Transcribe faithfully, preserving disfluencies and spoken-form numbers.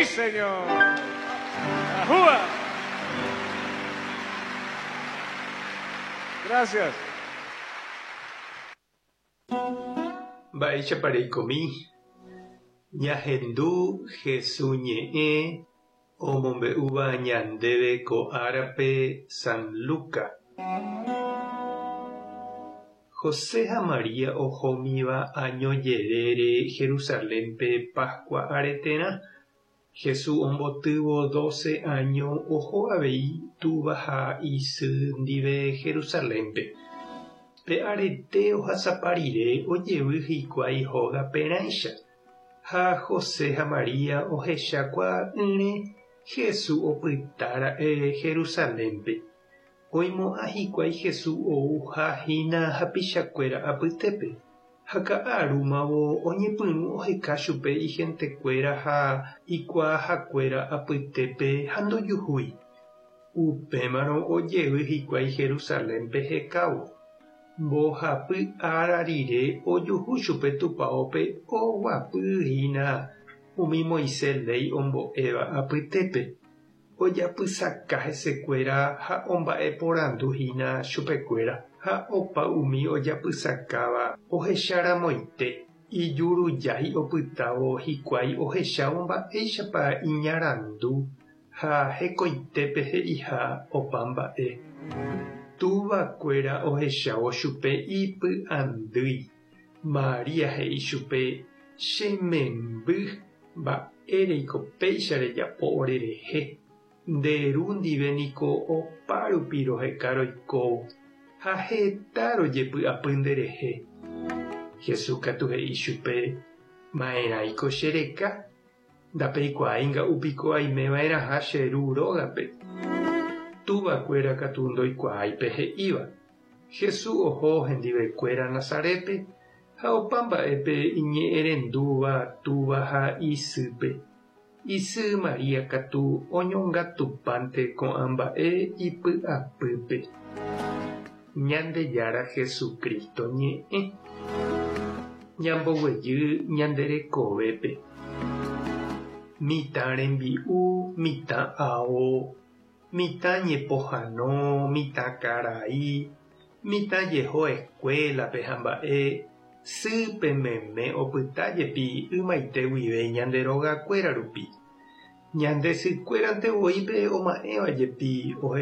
Sí, señor. ¡Ajúa! Gracias. Mba'éichapa reikomi Ñahendu Jesús ñe'ẽ omombe'úva ñandéve ko árape San Luca. José ha María ohómiva año jerére Jerusalénpe Pascua areterã. Jesús ombotývo doce año oho avei túva ha isy ndive Jerusalénpe. Pe arete ohasapa rire ojevy hikuái hógaperãicha ha José ha María ohechakuaa'ỹre Jesús opytára'e Jerusalénpe. Oimo'ã hikuái Jesús ouhahína hapichakuéra apytépe ha ka'arúmavo oñepyrũ oheka chupe ihentekuéra ha ikuaahakuéra apytépe ha ndojuhúi. Upémarõ ojevy hikuái Jerusalénpe hekávo. Mbohapy ára rire ojuhu chupe tupãópe oguapyhína umi Moisés léi ombo'éva apytépe. Ojapysaka hesekuéra ha omba'eporanduhína chupekuéra ha opa umi ojapysakáva ohecharamoite ijurujái opytávo hikuái ohechávo mba'éichapa iñarandu ha hekoitépe he'iha opa mba'e. Tuvakuéra ohechávo chupe ipy'andýi. María he'i chupe che memby mba'éreiko péicha rejapo orerehe. Nde ru ndive niko opárupi roheka roikóvo ha heta rojepy'apy nderehe. Jesús katu he'i chupe ma'erãiko chereka ndapeikuaái nga'úpiko aimeva'erãha che ru rógape. Tuvakuéra katu ndoikuaái pe he'íva. Jesús oho hendivekuéra Nazarépe ha opa mba'épe iñe'ẽrendúva túva ha isýpe. Isy María katu oñongatupánte ko'ã mba'e ipy'apýpe. Ñandejára Jesucristo ñe'ẽ. Ñamboguejy ñande rekovépe. Mitã rembi'u, mitã ao, mitã ñepohãno, mitã karai, mitã jeho escuelape ha mba'e sýpe meme opytájepi ymaite guive ñande rogakuéra rupi. Ñande sykuérante voípe oma'ẽvajepi.